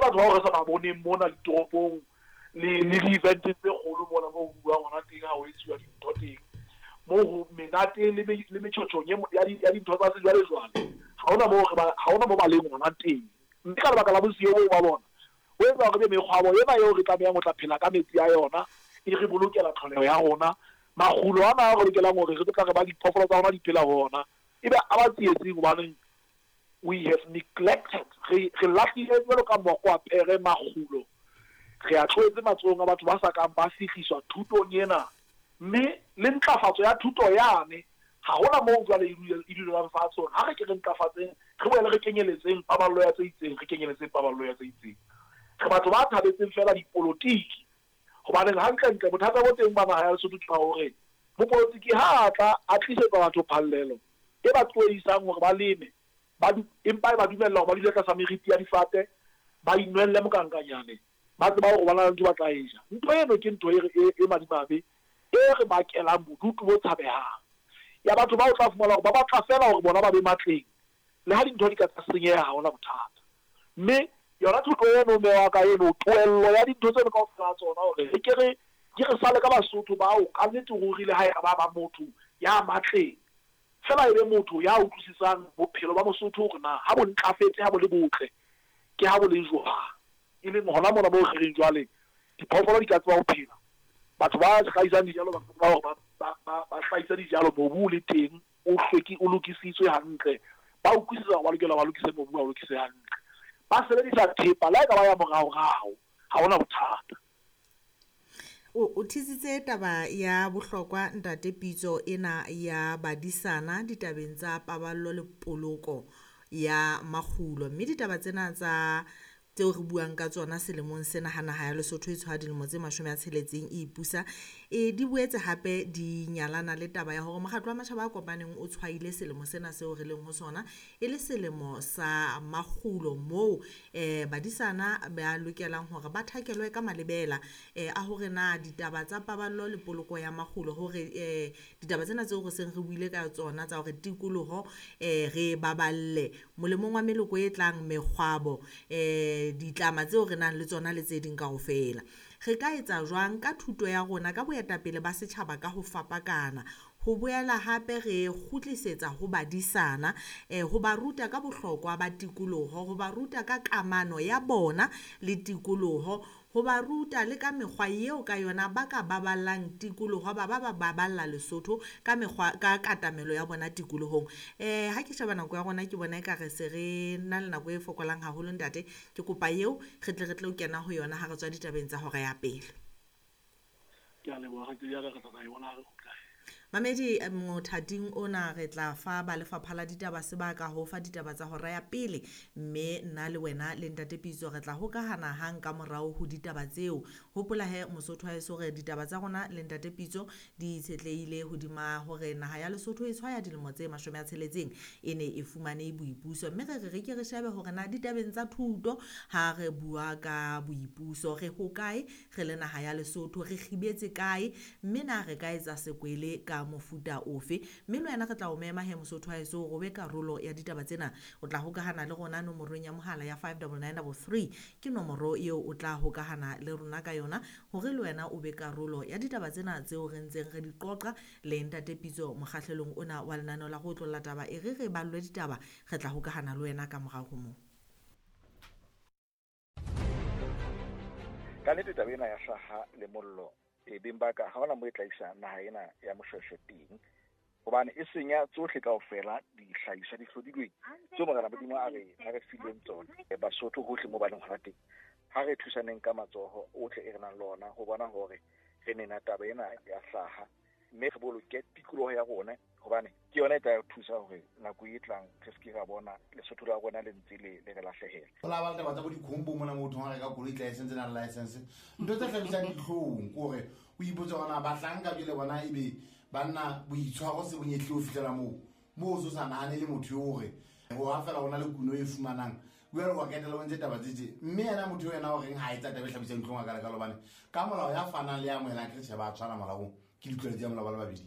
batho bao re sa ba boneng mona ditoropong le le di-eventeng tse kgolo mona moo ho buang hona teng ha ho etsuwa dintho teng, moo ho menate le le metjhotjhong ya dintho tsa sejwalejwale. Ha hona moo re ba, ha hona moo ba leng hona teng. Mme ka lebaka la bosiyo boo ba bona, ho etsa hore ebe mekgwabo ena eo re tlamehang ho tla phela ka metsi a yona e re bolokela tlholeho ya rona. Makgulo ana ao re lokelang hore re tlo tla re ba diphoofolo tsa rona di phela ho ona, ebe a ba tsietsing hobaneng we have neglected, re, re lahlile jwalo ka moko wa pere makgulo, re a tlohetse matsohong a batho ba sa kang ba fihliswa thutong ena. Mme le ntlafatso ya thuto yane, ha hona moo jwale e dulelang fatshe hore ha re ke re ntlafatseng, re boele re kenyeletseng paballo ya tse itseng, re kenyeletseng paballo ya tse itseng. Re batho ba thabetseng feela dipolotiki. Hobaneng hantlentle bothata bo teng ba naha ya Lesotho ke ba hore mopolotiki ha a tla a tlisetsa batho phallelo e ba tloehisang hore ba leme, ba empa e ba dumella hore ba dule tlasa meriti ya difate, ba inwelle mokankanyane, ba tseba hore ba na le ntho ba tla e ja. Ntho eno ke ntho e e madimabe e re bakelang bodutu bo tshabehang. Ya batho bao o tla fumana hore ba batla feela hore bona ba be matleng le ha dintho di ka tsa senyeha ha hona bothata. Mme yona thuto eno mme wa ka eno, toello ya dintho tseno kaofela ha tsona hore re ke re ke re sale ka Basotho bao ka nnete ruri le ha e ka ba ba motho ya matleng, feela e be motho ya utlwisisang bophelo ba Mosotho hore na ha bo ntlafetse, ha bo le botle ke ha bo le jwang. E leng hona mona moo re reng jwale diphoofolo di ka tseba ho phela, batho ba hlahisang dijalo ba ka tseba hore ba hlahise dijalo mobu o le teng, o hlweki, o lokisitswe hantle. Ba utlwisisa hore ba lokela ba lokise mobu, ba o lokise hantle. Ba sebedisa thepa le ha e ka ba ya moraorao, ha hona bothata. O thusitse taba ya bohlokwa ntate Pitso ena ya badisana ditabeng tsa paballo le poloko ya makgulo, mme ditaba tsena tsa tseo re buang ka tsona selemong sena ha naha ya Lesotho e tshwara dilemo tse 60 e ipusa, e di boetse hape di nyalana le taba ya hore mokgatlo wa matjhaba a kopaneng o tshwaile selemo sena seo re leng ho sona e le selemo sa makgulo, moo badisana ba lokelang hore ba thakelwe ka malebela a hore na ditaba tsa paballo le poloko ya makgulo, hore ditaba tsena tseo re seng re buile ka tsona tsa hore tikoloho re baballe molemong wa meloko e tlang, mekgwabo, ditlama tseo re nang le tsona le tse ding kaofela. Re ka etsa jwang ka thuto ya rona ka boetapele ba setjhaba ka ho fapakana, ho boela hape re kgutlisetsa ho badisana, ho ba ruta ka bohlokwa ba tikoloho, ho ba ruta ka kamano ya bona le tikoloho, ho ba ruta le ka mekgwa eo ka yona ba ka baballang tikoloho, ba ba ba baballa Lesotho ka mekgwa, ka katamelo ya bona tikolohong. Ha ke sheba nako ya rona ke bona ekare se re na le nako e fokolang haholo ntate, ke kopa eo re tle re tlo kena ho yona ha re tswa ditabeng tsa hora ya pele. Ke a leboha, re tla re tla bona ha re kgutla. Mamedi, mothating ona re tla fa ba lefapha la ditaba sebaka ho fa ditaba tsa hora ya pele, mme nna le wena le ntate Pitso re tla hokahana hang ka morao ho ditaba tseo. Hopola he Mosotho wa heso hore ditaba tsa rona le ntate Pitso di itshetlehile hodima hore naha ya Lesotho e tshwaya dilemo tse 60 e ne e fumane boipuso, mme re re re ke re shebe hore na ditabeng tsa thuto ha re bua ka boipuso re hokae re le naha ya Lesotho, re kgibetse kae, mme na re ka etsa sekwele ka mofuta ofe. Mme le wena re tla o mema he Mosotho wa heso hore o be karolo ya ditaba tsena. O tla hokahana le rona nomorong ya mohala ya 59933, ke nomoro eo o tla hokahana le rona ka yona hore le wena o be karolo ya ditaba tsena tseo re ntseng re di qoqa le ntate Pitso mokgahlelong ona wa lenaneo la go otlolla taba. E re re ballwe ditaba, re tla hokahana le wena ka morao ho moo. Ka nnete taba ena ya hlaha le mollo, e beng ba ka ha hona moo e tla isa naha ena ya Moshweshwe teng, hobane e senya tsohle kaofela dihlahiswa di hlodilweng tseo Morena Modimo a re fileng tsona. Basotho hohle moo ba leng hona teng, ha re thusaneng ka matsoho ohle e re nang le ona ho bona hore re nena taba ena ya hlaha, mme re boloke tikoloho ya rona, hobane ke yona e tla re thusa hore nako e tlang re se ke ra bona Lesotho la rona le ntse le re lahlehela. Ho la ba le taba tsa bo dikhombo mona moo thong reka koloi license na license, ntho tse hlabisang dihlong ke hore o ipotse hore na bahlanka jwale bona ebe banna boitshwaro se bonyetlile ho fihlela moo, moo o so sa nahane le motho eo hore ho ha fela ho na le kuno e fumanang, jwale wa ketela o ntse taba tse tje. Mme yena motho eo yena o reng ha etsa taba e hlabisang dihlong a ka lekalo, hobane ka molao ya fanang le ya amohelang ke re tjhe ba tshwana molaong, ke ditlwaelo tsa molao ba le babedi.